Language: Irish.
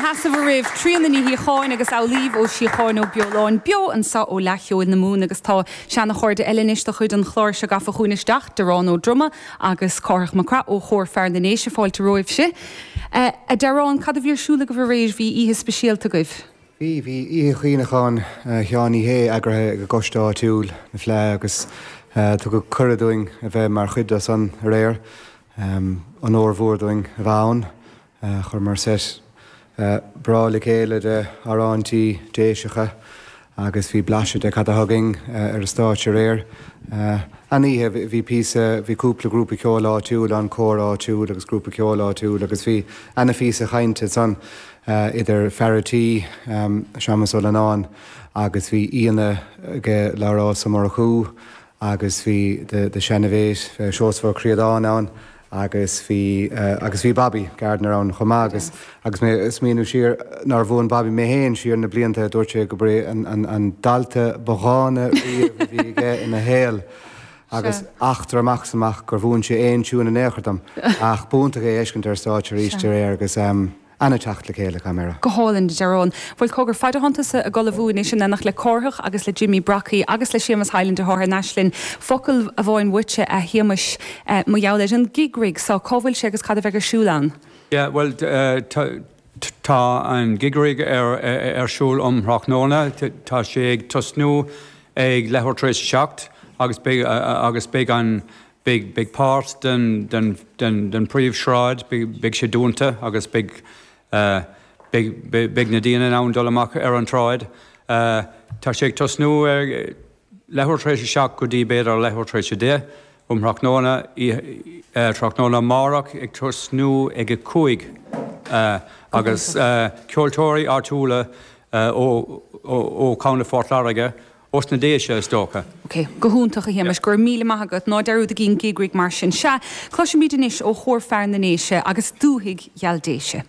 sheasamh oraibh, Tríona Ní Shíocháin agus Amhlaoibh Ó Síocháin Ó Beoláin, beo anseo ó Fhleadh Cheoil na Mumhan agus tá seana-chairde eile anois de chuid an chláir seo gafa chugainn isteach, Diarán Ó Droma agus Cárthach Mac Craith ó Chór Fear na nDéise, fáilte romhaibhse. A Diarán, cad a bhí ar siúl agaibh aréir? Bhí oíche speisialta agaibh. Bhí, bhí Oíche Chuimhneacháin Sheáin Uí Shé eagraithe ag an gcoiste áitiúil, na Fleá, agus tugadh cuireadh dúinn a bheith mar chuid de san aréir. Onóir mhór dúinn a bheith ann. Chuireamar seit breá le chéile de amhráintí Déiseacha agus bhí blaiseadh de cad atá againn ar an stáitse aréir. An-oíche, bhí píosa, bhí cúpla grúpa ceoil áitiúil ann, cór áitiúil agus grúpa ceoil áitiúil agus bhí ana-phíosa chainte ansan idir fear a' tí, Séamus Ó Leannáin agus bhí aíonna aige, Labhrás Ó Murchú agus bhí the seana-mhate, Seosamh Ó Críodáin ann agus bhí, agus bhí Bobby Gardiner ann chomh maith agus, agus mé ag smaoineamh siar nár mhúin Bobby mé féin siar na blianta, dúirt sé gurb é an, an, an dalta ba dhána riamh a bhí aige ina shaol agus eachtra amach is amach gur mhúin sé aon tiún in aon chor dom ach b'iontach é a fheiscint ar stáitse arís aréir agus. Ana-theacht le chéile, caithfidh mé a rá. Go hálainn, a Diarán. Bhuel, cogar, faid atánn tusa ag ullmhú anois in éineacht le Cárthach agus le Jimmy Brockie agus le Séamus Hyland atá thar n-ais linn, focal amháin uaitse, a Shéamais, mar gheall ar an Gig Rig so, cá bhfuil sé agus cad a bheidh ar siúl ann? Yeah, bhuel, tá an Gig Rig ar siúl um thráthnóna. Tá sé ag tosnú ag leathuair tar éis a 7 agus beidh agus beidh an Beidh, beidh páirt den, den, den, den príomhshráid, beidh, beidh sé dúnta agus beidh, beidh, beidh na daoine in ann dul amach ar an tsráid. Tá sé ag tosnú ar leathuair tar éis a 7 go dtí b'fhéidir leathuair tar éis a 10 um thráthnóna, tráthnóna amárach ag tosnú ag a 5 agus ceoltóirí áitiúla ó, ó, ó Chontae Phort Láirge Ós na Déise, is dócha. Ok, go hiontach, a Shéamais, go raibh míle maith agat. Ná dearúdaigí an Gig Rig mar sin. Sea, cloisfimid anois ó Chór Fear na nDéise agus Dúthaigh Gheal Déise.